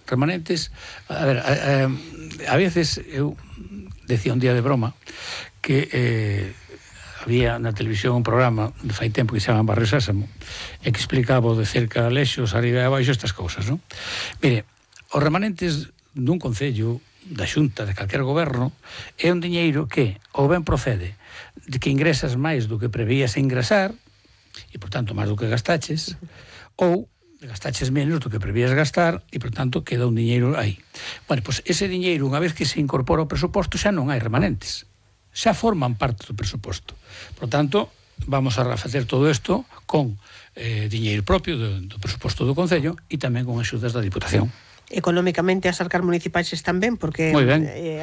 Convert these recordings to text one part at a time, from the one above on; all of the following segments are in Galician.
Remanentes, a ver, a veces eu decía un día de broma que había na televisión un programa de fai tempo que se chama Barrio Sésamo e que explicaba de cerca a lexos, arriba e abaixo estas cousas, non? Mire, os remanentes dun concello, da xunta, de calquer goberno, é un diñeiro que ou ben procede de que ingresas máis do que prevías ingresar e, por tanto, máis do que gastaches, ou gastaches menos do que prevías gastar e, por tanto, queda un diñeiro aí. Bueno, pois ese diñeiro, unha vez que se incorpora ao presuposto, xa non hai remanentes. Xa forman parte do presuposto. Por tanto, vamos a facer todo isto con diñeiro propio do presuposto do Concello e tamén con axudas da Diputación. Económicamente as arcas municipais están ben, porque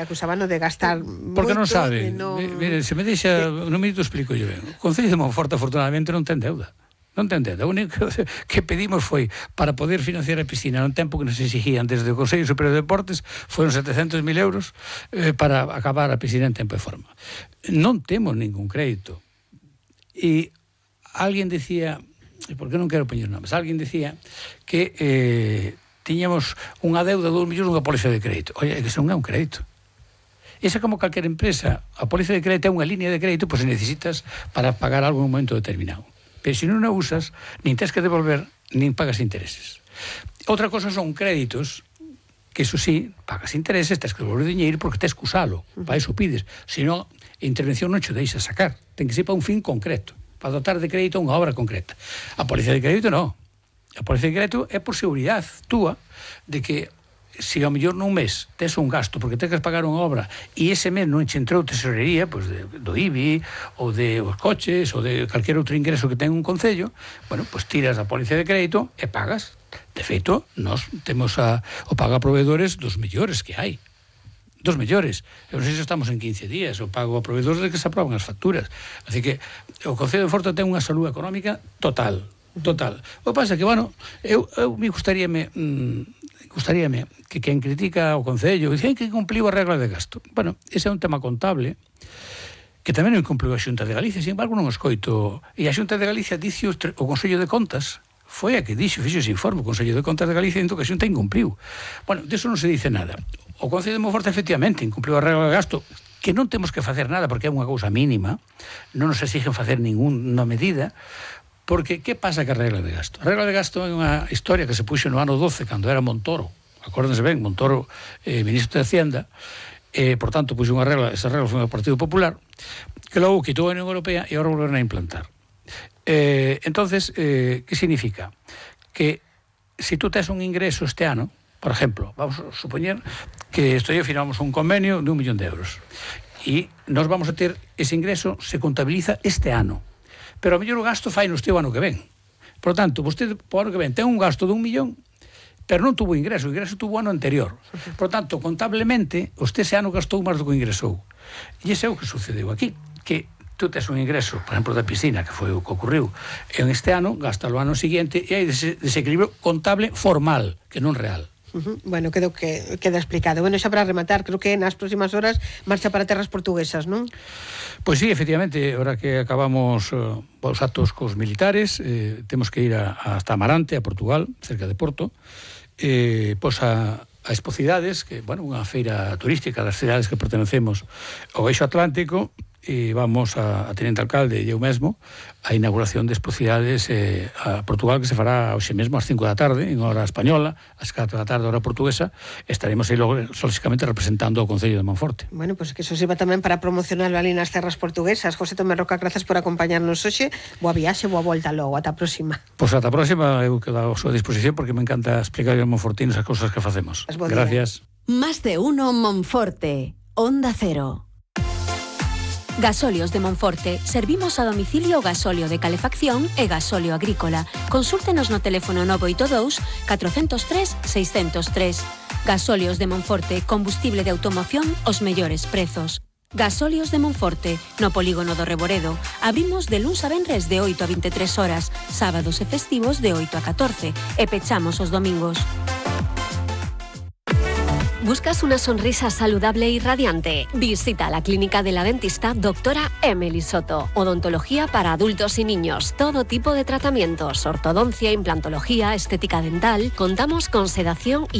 acusaban de gastar porque moito. Non sabe. Mire, se me deixa, non me explico yo ben. O Concello de Monforte, afortunadamente, non ten deuda. Non ten deuda. O único que pedimos foi para poder financiar a piscina no tempo que nos exigían desde o Consello Superior de Deportes, foron 700.000 euros para acabar a piscina en tempo e forma. Non temos ningún crédito. E alguén decía, porque non quero poñer nomes, alguén decía que tiñamos unha deuda de 2 millóns nunha póliza de crédito. Oye, que non é un crédito. Esa, como calquer empresa, a póliza de crédito é unha línea de crédito, pois se necesitas para pagar algo en un momento determinado. Pero se non a usas, nin tens que devolver, nin pagas intereses. Outra cosa son créditos, que iso sí, pagas intereses, tens que devolver diñeiro porque tens que usalo, para iso pides. Se non, a intervención non che deixa sacar, ten que ser para un fin concreto, para dotar de crédito a unha obra concreta. A póliza de crédito non. A póliza de crédito é por seguridade túa de que se ao mellor nun mes tes un gasto porque tens que pagar unha obra e ese mes non che entrou tesorería, pois do IBI ou de os coches ou de calquer outro ingreso que ten un concello, bueno, pois tiras a póliza de crédito e pagas. De feito, nós temos o pago a proveedores dos mellores que hai. Dos mellores. Eu non sei se estamos en 15 días, o pago a proveedores de que se aproban as facturas. Así que o Concello de Monforte ten unha salud económica total. O que pasa é que, bueno, eu me gustaríame que quen critica o Concello dice que cumpliu a regla de gasto. Bueno, ese é un tema contable que tamén non cumpliu a Xunta de Galicia, sin embargo non o escoito. E a Xunta de Galicia dice o Consello de Contas, foi a que fixo ese informe, o Consello de Contas de Galicia, dentro que a Xunta incumpliu. Bueno, disso non se dice nada. O Concello de Monforte efectivamente incumpliu a regla de gasto, que non temos que facer nada porque é unha cousa mínima, non nos exigen facer ninguna medida. Porque, que pasa ca regla de gasto? A regla de gasto é unha historia que se puxo no ano 12, cando era Montoro. Acórdense ben, Montoro, ministro de Hacienda, por tanto, puxo unha regla, esa regla foi do Partido Popular, que logo quitou a Unión Europea e agora volveron a implantar. Entonces, que significa? Que se tú tes un ingreso este ano, por exemplo, vamos a supoñer que firmamos un convenio de 1 millón de euros e nós vamos a ter ese ingreso, se contabiliza este ano. Pero a mellor o gasto fai no este ano que ven. Por tanto, vostede, por ano que ven, ten un gasto de 1 millón, pero non tuvo ingreso, o ingreso tuvo o ano anterior. Por tanto, contablemente, usted ese ano gastou máis do que ingresou. E ese é o que sucedeu aquí, que tú tes un ingreso, por exemplo, da piscina, que foi o que ocurriu en este ano, gastalo o ano seguinte, e hai desequilibrio contable formal, que non real. Bueno, queda explicado. Bueno, xa para rematar, creo que nas próximas horas marcha para terras portuguesas, non? Pois sí, efectivamente, ahora que acabamos os actos cos militares, temos que ir hasta Amarante, a Portugal, cerca de Porto, pois a Expocidades, que, bueno, unha feira turística das cidades que pertenecemos ao Eixo Atlántico, e vamos a Tenente Alcalde e eu mesmo a inauguración de Expocidades a Portugal, que se fará hoxe mesmo ás 5 da tarde en hora española, ás 4 da tarde hora portuguesa. Estaremos aí logo lógicamente representando o Concello de Monforte. Bueno, pois que eso sirva tamén para promocionarlo ali nas terras portuguesas. José Tomé Roca, grazas por acompañarnos hoxe. Boa viaxe, boa volta logo, ata a próxima. Pois ata a próxima, eu quedo a súa disposición porque me encanta explicar aos monfortinos as cousas que facemos. Gracias. Más de uno Monforte, Onda Cero. Gasóleos de Monforte. Servimos a domicilio gasóleo de calefacción e gasóleo agrícola. Consúltenos no teléfono 982 403 603. Gasóleos de Monforte. Combustible de automoción aos mellores prezos. Gasóleos de Monforte, no polígono do Reboredo. Abrimos de luns a venres de 8 a 23 horas, sábados e festivos de 8 a 14 e pechamos os domingos. ¿Buscas una sonrisa saludable y radiante? Visita la clínica de la dentista Doctora Emily Soto. Odontología para adultos y niños. Todo tipo de tratamientos. Ortodoncia, implantología, estética dental. Contamos con sedación y